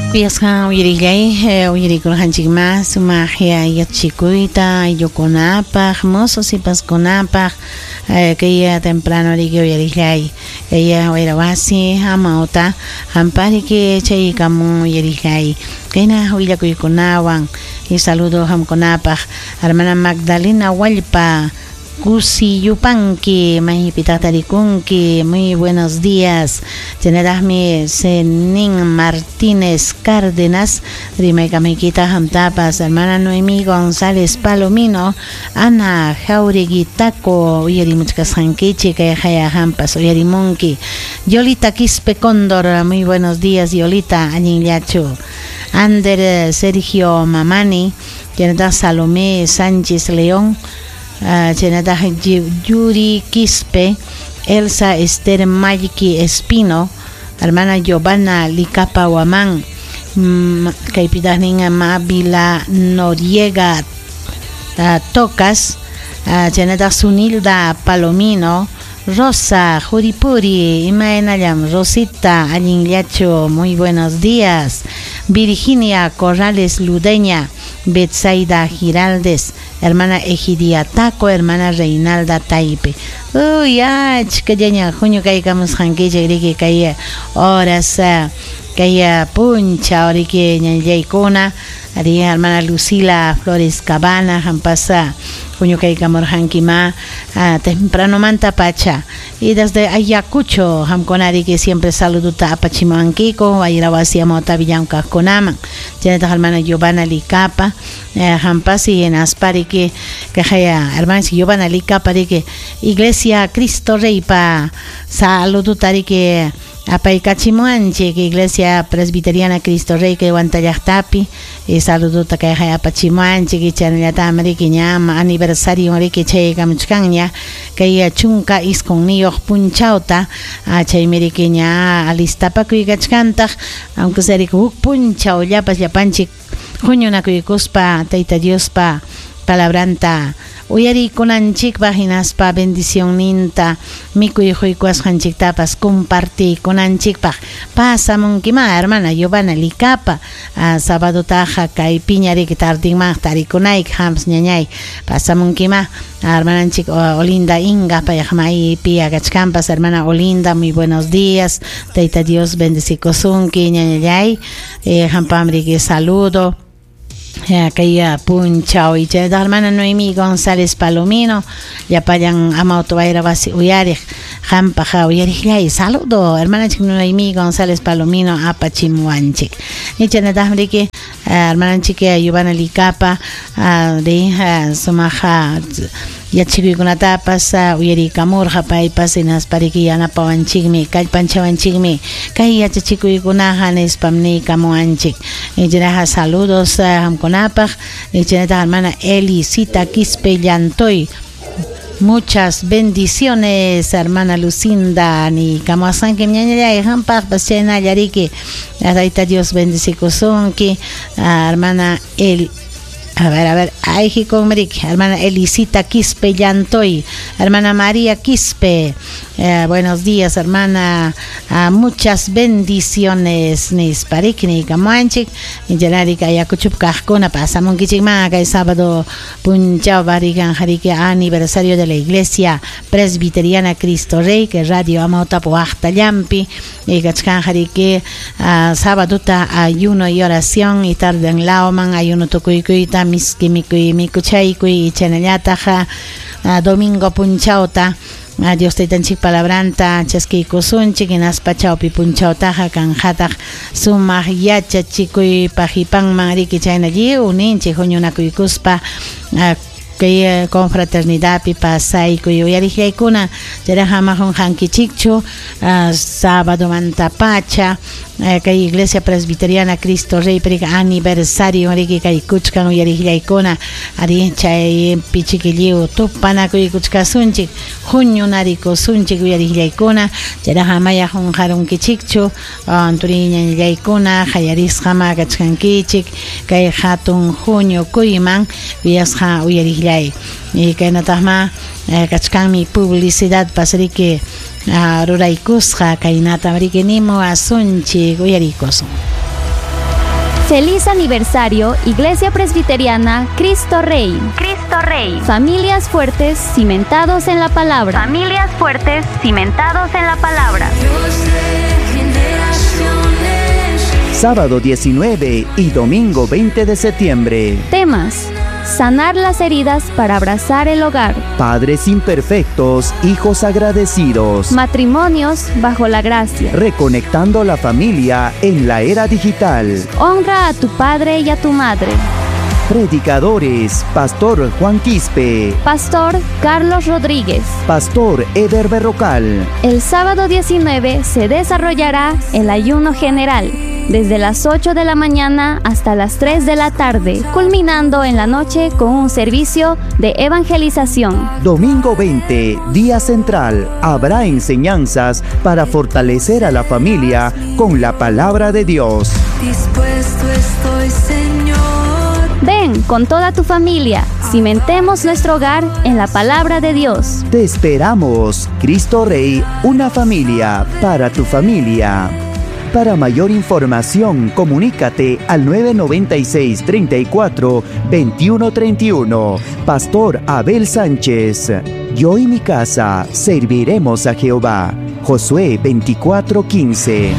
Kuyasqa uyarillay, uyarikurqanchikma sumaq yachachikuyta ayllukunapaq, mozo sipaskunapaq, kay temprano riki uyarillay, kay wayra wasi amawta qampariki chaykamun uyarillay, kayna willakuykunawan y saludo qamkunapaq, hermana Magdalena Wallpa, Kusi Yupanqui, maypitaq tarikunki, muy buenos días. Chaynataqmi Zenin Martínez Cárdenas, rimaykamaykita qamtapas, hermana Noemí González Palomino, Ana Jauregui Taco, uyarimuchkasqankichik, kay haya qampas uyarimunki. Yolita Quispe Cóndor, muy buenos días, Yolita, allinllachu. Ander Sergio Mamani, chaynataq Salomé Sánchez León, chaynataq Yuri Quispe, Elsa Esther Mayki Espino, hermana Giovanna Licapa Huamán, kaypitaq nin Mávila Noriega Tocas, chaynataq Sunilda Palomino, Rosa Juripuri, imaynallam Rosita, allinllachu, muy buenos días. Virginia Corrales Ludeña, Betsaida Giraldes, hermana Egidia Taco, hermana Reinalda Taipe. Uy, achkallaña huñu kaykamusqankichik riki kay horas kay punchaw riki ñañaykuna, ari hermana Lucila Flores Cabana, hampasa huñu kaykamurqankima tempranomanta pacha. Y desde Ayacucho, hamkuna riki siempre saluduta apachimuwankiku, wayra wasi amawta villamkaqkunaman. Chaynataq hermana Giovanna Licapa, hampasi hinaspa riki kaqaya hermana Giovanna Licapa riki Iglesia Cristo Reypa saluduta riki apaykachimuwanchik, Iglesia Presbiteriana Cristo Rey kay Huantallaqtapi, y saluduta kayqa apachimuwanchik, chaynallatami riki ña aniversario riki chaykamuchkanña kay 19 punchawta, chaymi riki ña alistapakuykachkantaq, aunque sea riki huk punchawllapas llapanchik huñunakuykuspa Tayta Diospa palabranta uyarikunanchikpaq hinaspa bendicionninta mikuy huykuwasqanchiktapas compartikunanchikpaq. Pasamunkima hermana Giovanna Licapa, sabadotaqa kay piña riki tardinman tarikunayki hampas ñañay, pasamunkima hermananchik Olinda Inga, payqa maypi kachkanpas. Hermana Olinda, muy buenos días, Tayta Dios bendecikusunki ñañallay, hampam riki saludo kay punchaw. Y chaynataq hermana Noemí González Palomino, llapallan amawta wayra wasi uyariq qampaq uyariqllay saludo hermananchik Noemí González Palomino apachimuwanchik. Y chaynataqmi riki hermananchik Giovanna Licapa ri sumaq yachakuykunatapas uyarikamurqa paypas hinaspa riki yanapawanchikmi, kallpanchawanchikmi kay yachachikuykunaqa nispam niykamuwanchik. Chaynaqa saludos qamkunapaq. Chaynataq hermana Elisita Quispe Llantoy, muchas bendiciones, hermana Lucinda, ni kamuasanki ñañallay qampaqpas chaynalla riki Tayta Dios bendecikusunki, hermana El A ver, ay, hermana Elisita Quispe Llantoy, hermana María Quispe, buenos días, hermana, muchas bendiciones, nisparik, ni kamuanchik, yanarika Ayacuchup kaqkuna, pasamunkichik ma, kay sábado punchaw barikan jariki aniversario de la Iglesia Presbiteriana Cristo Rey, que Radio Amawtap waqtallampi, y kachkan jariki sábado ta ayuno y oración, y tarde en lauman, ayuno tukuykuyta, miski mikuy mikuchaykuy, chaynallataq domingo punchawta Dios taytanchik palabranta chaskiykusunchik, hinaspa chawpi punchawtaqa kanqataq sumaq yachachikuypaq hipanman riki chayna lliw ninchik huñunakuykuspa kay confraternidadpi pasaykuy uyariqllaykuna. Chayraqa ama qunqankichikchu sábado mantapacha kay Iglesia Presbiteriana Cristo Rey prika aniversario riki kay kuchkan uyariqllaykuna, ari chaypi chiquilliw tupanakuykuchkasunchik huñunarikusunchik uyariqllaykuna. Chayraqa amaya qunqarunkichikchu turiñañallaykuna qallarisqama kachkankichik kay hatun huñukuyman uyasqa uyariqllay. Y kaynataqma kachkanmi publicidad pasriki ruraykusqa kaynata riki nimuwasunchik uyarikusun. Feliz aniversario, Iglesia Presbiteriana Cristo Rey. Cristo Rey. Familias fuertes cimentados en la palabra. Familias fuertes cimentados en la palabra. Sábado 19 y domingo 20 de septiembre. Temas: sanar las heridas para abrazar el hogar. Padres imperfectos, hijos agradecidos. Matrimonios bajo la gracia. Reconectando la familia en la era digital. Honra a tu padre y a tu madre. Predicadores: Pastor Juan Quispe, Pastor Carlos Rodríguez, Pastor Eder Berrocal. El sábado 19 se desarrollará el ayuno general, desde las 8 de la mañana hasta las 3 de la tarde, culminando en la noche con un servicio de evangelización. Domingo 20, día central, habrá enseñanzas para fortalecer a la familia con la palabra de Dios. Dispuesto estoy, Señor. Ven con toda tu familia, cimentemos nuestro hogar en la palabra de Dios. Te esperamos, Cristo Rey, una familia para tu familia. Para mayor información, comunícate al 996 34 21 31. Pastor Abel Sánchez. Yo y mi casa serviremos a Jehová. Josué 24 15.